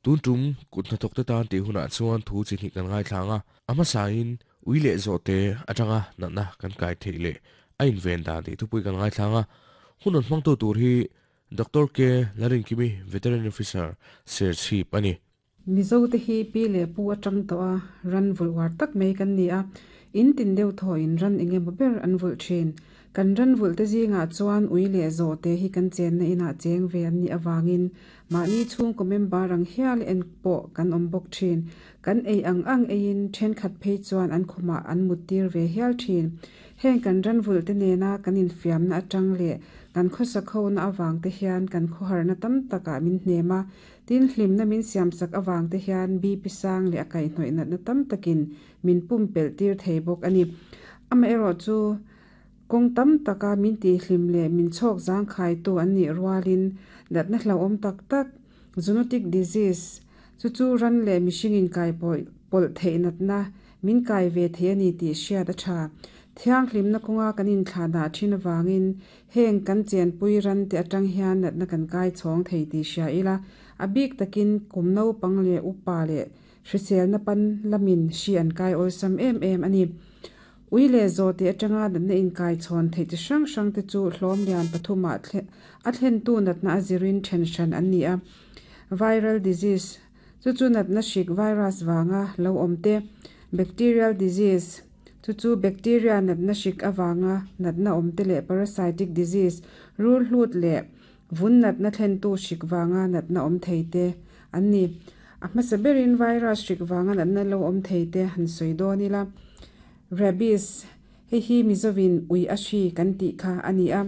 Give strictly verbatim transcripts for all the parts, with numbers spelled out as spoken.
Tun tum kut hnathawk te tan tih hunah chuan thu chi hnih kan ngaithlang a, a hmasain ui leh zawhte atanga natna kan kai theih leh a inven dan tih thupui kan ngaithlang a. Hun rawn hmangtu tur hi Doctor K Larinkimi, Veterinary Officer, Serchhip a ni. Mizo te hi pi leh pu atang tawh a ran vulh uar tak mai kan ni a, in tin deuh thaw in ran eng emaw ber an vulh thin. Kan ran vulh te zingah chuan ui leh zawhte hi kan chenna inah cheng ve an nih avangin mahni chhungkaw member ang hial en pawh kan awm bawk thin. Kan ei ang ang eiin thenkhat phei chuan an khumah an mut tir ve hial thin. Heng kan ran vulh te nena kan infiamna atang leh kan khawsak hona avang te hian kan khawharna tam takah min hnem a, tin hlimna min siamsak avang te hian B P sang leh a kaihhnawih natna tam takin min pumpelh tir thei bawk a ni. Amaherawh chu kawng tam taka min tihhlim leh min chhawk zangkhaitu an nih rualin natna hlauhawm tak tak, zoonotic disease, chu chu ran leh mihring inkai pawlh theih natna min kai ve thei a ni tih hriat a tha. Thianghlimna kawnga kan inthlahdah thin avangin heng kan chenpui ran te atang hian natna kan kai chhawng thei tih hria ila, a bik takin kum naupang leh upa leh hriselna pan lamin hri an kai awlsam em em a ni. Ui leh zawhte atanga natna inkai chhawn theih chi hrang hrang te chu hlawm lian pathumah a thlentu natna a zirin then hran an ni a. Viral disease, chu chu natna hrik virus vanga lo awm te, bacterial disease, chu chu bacteria natna hrik avanga natna awm te leh parasitic disease, rul hlut leh vun natna thlentu hrik vanga natna awm thei te an ni. A hmasa berin virus hrik vanga natna lo awm thei te han sawi dawn ila. Rabies, hei hi Mizovin ui a hri kan tih kha a ni a.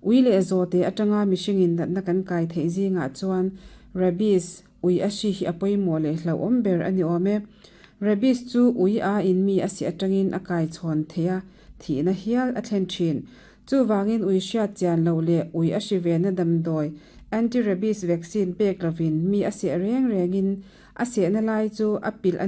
Ui leh zawhte atanga mihringin natna kan kai theih zingah chuan rabies, ui a hri hi a pawimawh leh hlauhawm ber a ni awm e. Rabies chu ui a in mi a si atangin a kai chhawn thei a, thihna hial a thlen thin. Chuvangin ui hriat chian lo leh ui a hri vena damdawi anti-rabies vaccine pek lovin mi a seh reng rengin a sehna lai chu a pilh a